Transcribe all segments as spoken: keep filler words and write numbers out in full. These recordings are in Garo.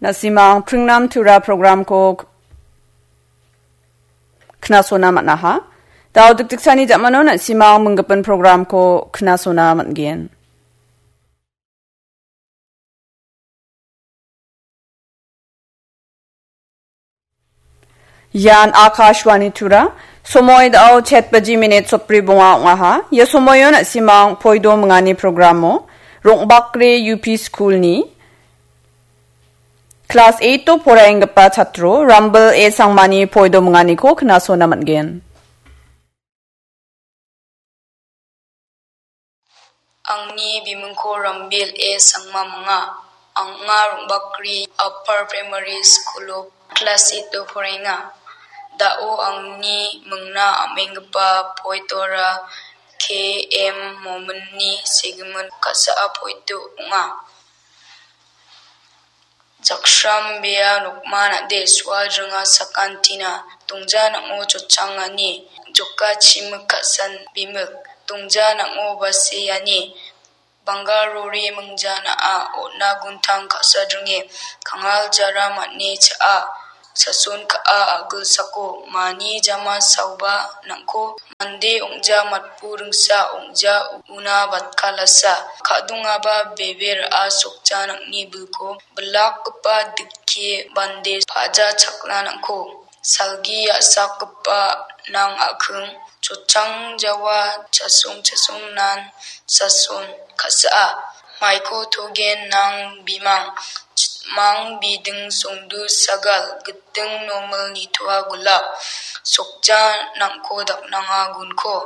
Na·simang Pringnam Tura programko k-, knasona man·aha. Dao dikdiksani jamano na·simang minggipin programko knasona man·gen. Ian Akashvani Tura. Somoi dao chet baji minit sotbri bonga ong·aha. Ia somoio na·simang poido mingani programo Rongbakri U P School-ni klas eight-o poraienggipa chatro Rambel A Sangmani poido minganiko knasona man·gen. Angni bimingko Rambel A Sangma minga. Anga Rongbakri Upper Primary School-o klas eight-o poraenga. Dao angni mingna am·enggipa poetora K M Mominni segimin ka·saa poeto ong·a. Jaksram bea nokma nade sual ringa sakantina, dongja nang·o chochangani, joka chimik ka·san bimik, dongja nang·o baseani, banggal rori mingjana·a, on·a guntang ka·sadringe, kangal jara man·e cha·a, sason ka·a a·gilsako, mani jama saoba nang·ko, mande ong·ja matbu ringsa, ong·ja una batkalasa, ka·dongaba bebe ra·a sokja nang·ni bilko, bilakgipa dike bande pa·ja chakna nang·ko. Salgi a·sakgipa nang a·king, chochang jawa chasong chasong nan sason ka·saa. Maiko togen nang bimang, chitmang biding songdu sagal, giting nomil nitoa gulap, sokja nang·ko daknanga gunko,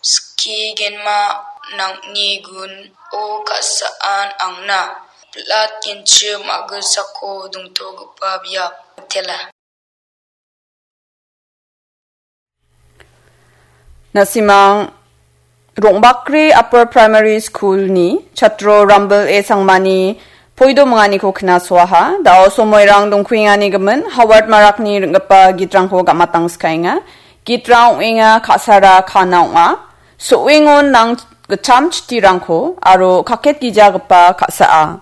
skigenma nang·ni gun o ka·saan angna, pilat genchim a·gilsako dongtogipa biap tela. Na·simang Rongbakri Upper Primary School-ni chatro Rambel A Sangmani poido minganiko knasoaha. Dao somoirang dongkuengani gimin Howard Marakni ring·gipa gitrangko gamatang skaenga. Gitrang ong·enga ka·sara kana ong·a. So·engon nang gitcham chitirangko aro kaket gijagipa ka·saa.